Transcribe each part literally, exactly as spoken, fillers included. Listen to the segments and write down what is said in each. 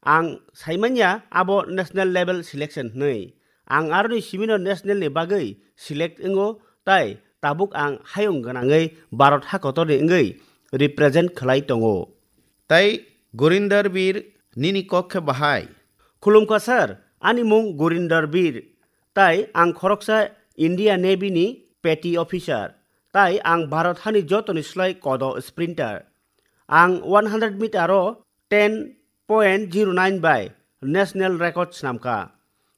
Ang saimanya abo national level selection hwnwi. Ang aroni simino national ni bagwi select wngo, tai tabuk ang hayung gwnangwi Bharat hakotorni wngwi represent khlai tongo. Tai Gurinder Bir, nini kok khe bahai? Khulumkha sir, ani mung Gurinder Bir, tai ang khoroksa India Navy ni petty officer, tai ang Bharat hani jotoni slai kodo sprinter. Ang one hundred meter o ten point zero nine bai national record snamkha.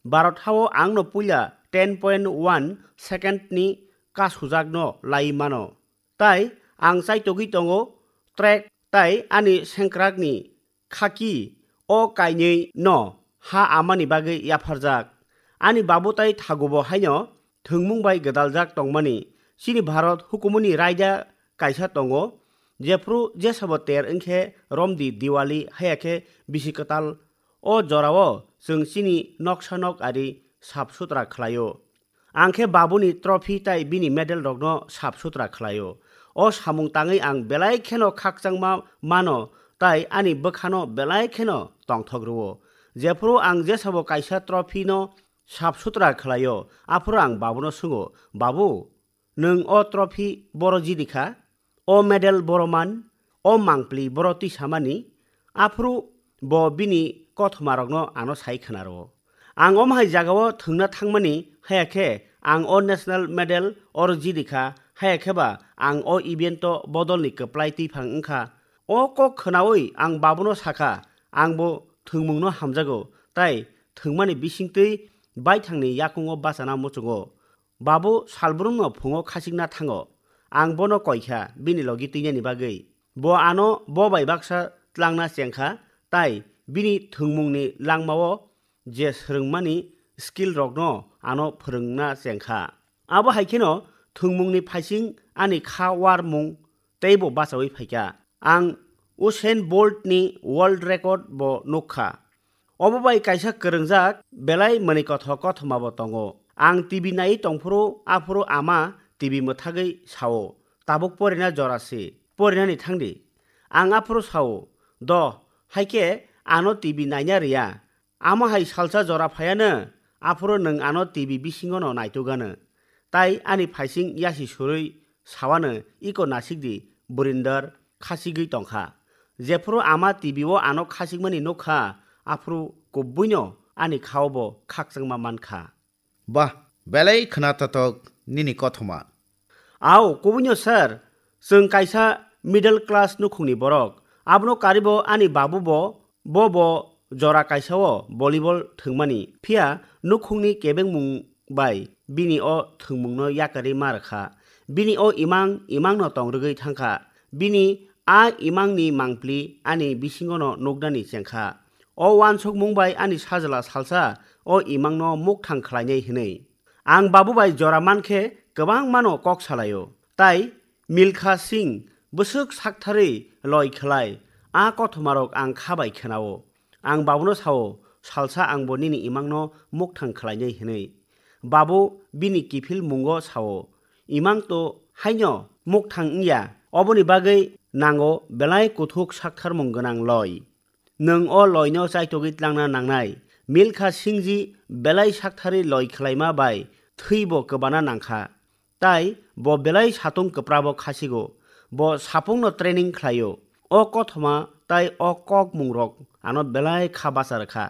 Bharat hao angno puila ten point one second ni kasujakno lai mano. Tai ang chaitogwi tongo track tai ani sengkrakni khaki o kainwi no ha amani bagwi yapharjak. Ani babu tai thagubo haino thwngmung bai gwdaljak tongmani. Chini Bharat hukumuni raida kaisa tongo, jephru jesabo ter wngkhe romdi Diwali, haya khe bisi kwtal. O jorao chwng chini noksa nok ari sap sutra khlaio. Ang khe babuni trophy tai bini medal rokno sap sutra khlaio. O samung tangwi ang belai kheno khakchangma mano tai ani bwkhano belai kheno tongthok rwo. Jephru ang jesabo kaisa trophy no sap sutra khlaio, aphuru ang babuno swngo, "Babu, nwng o trophy boro jidi kha, o medal boro man, o mangpli boro twi samani?" Aphuru bo bini kothomarokno ano sai khwnaro. Ang omo hai jagao thwngna thangmani, haya khe ang o national medal oro jidi kha, haya khe ba ang o event o bodolni kwplai twiphang wngkha. O kok khwnaui ang babuno sakha, "Angbo thwngmungno hamjago, tai thwngmani bisingtwi baithangni yakungo bachana muchungo." Babu salbrumno phungo khasikna thango. Ang bono koikha bini logi twinani bagwi. Bo ano bo bai baksa tlangna chengkha, tai bini thwngmungni langmao je swrwngmani skill rokno ano phwrwngna chengkha. Abo hai kheno thwngmungni phaising ani kha warmung teibo bachaui phaikha. Ang Usain Bolt ni world record bo nukkha. Obo bai kaisa kwrwngjak belai mwnwi kothok kothoma bo tongo. Ang T V naiwi tongphuru, aphuru ama T V mwthagwi sao, "Tabuk porina jora si, porinani thangdi." Ang aphuru sao, "Do, haikhe ano T V naina rwya. Amo hai salsa jora phaiano, aphuru nwng ano T V bisingono naitugano." Tai ani phaising yasi surui sawano, "Iko nasikdi, Burinder khasigwi tongkha." Jephuru ama T V o ano khasikmani nukkha, aphuru kubuino ani khao bo khakchangma mankha. Bah, belai khwnatatok nini kothoma. Ao, kubuino sir, chwng kaisa middle class nukhungni borok. Abono karibo ani babu bo, bo bo jora kaisao volleyball thwngmani. Phiya nukhungni kebengmung bai bini o thwngmungno yakarwi ma rwkha. Bini o imang, imangno tong rwgwi thangkha. Bini a imangni mangpli ani bisingono nuknani chengkha. O uansukmung bai ani sajla salsa o imangno mukthang khlainai hwnwi. Ang babu bai jora mankhe kwbangmano kok salaio. Tai Milkha Singh bwswk saktharwi loi khlai, a kothomarok ang kha bai khenao. Ang babuno sao, "Salsa angbo nini imangno mukthang khlainai," hwnwi. Babu bini kiphil mungo sao, "Imang to haino mukthang wngya, oboni bagwi nango belai kuthuk saktharmung gwnang loi. Nwng o loino chaitogwi tlangna nangnai." Milkha Singhji belai saktharwi loi khlaima bai thwibo kwbana nangkha. Tai bo belai satung kwprabo khasigo. Bo sapungno training khlaio. O kothoma tai o kokmungrok ano belai kha bacha rwkha.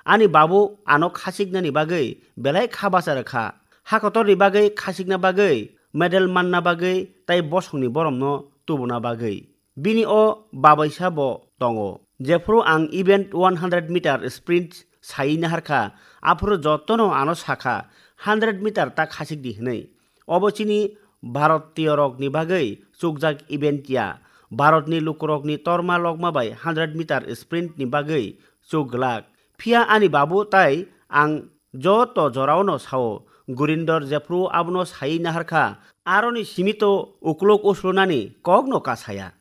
Ani babu ano khasiknani bagwi belai kha bacha rwkha. Hakotorni bagwi khasikna bagwi, medal manna bagwi tai bosongni boromno tubuna bagwi. Bini o babaisa bo tongo. Jephuru ang event one hundred meter sprint sai naharkha, aphuru jotono ano sakha, "Hundred meter ta khasik di," hwnwi. Obo chini Bharatiyorokni bagwi chukjak event ya. Bharatni lukurokni torma lokma bai hundred meter sprint ni bagwi chuk glak. Phiya ani babu tai ang joto joraono sao, Gurindor jephru abono sai naharkha, aroni simito uklok uslunani kokno kasaya.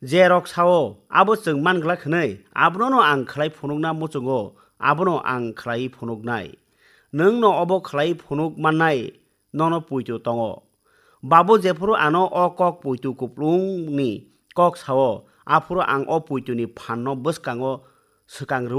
Jerok sao, abo chwng manglak hwnwi, abono ang khlai phunukna muchungo, abono ang khlai phunuknai. Nwngno obo khlai phunuk mannai nono puitu tongo. Babu jephuru ano o kok puitu kuplungni kok sao, aphuru ang o puituni phanno bwskango swkang rwui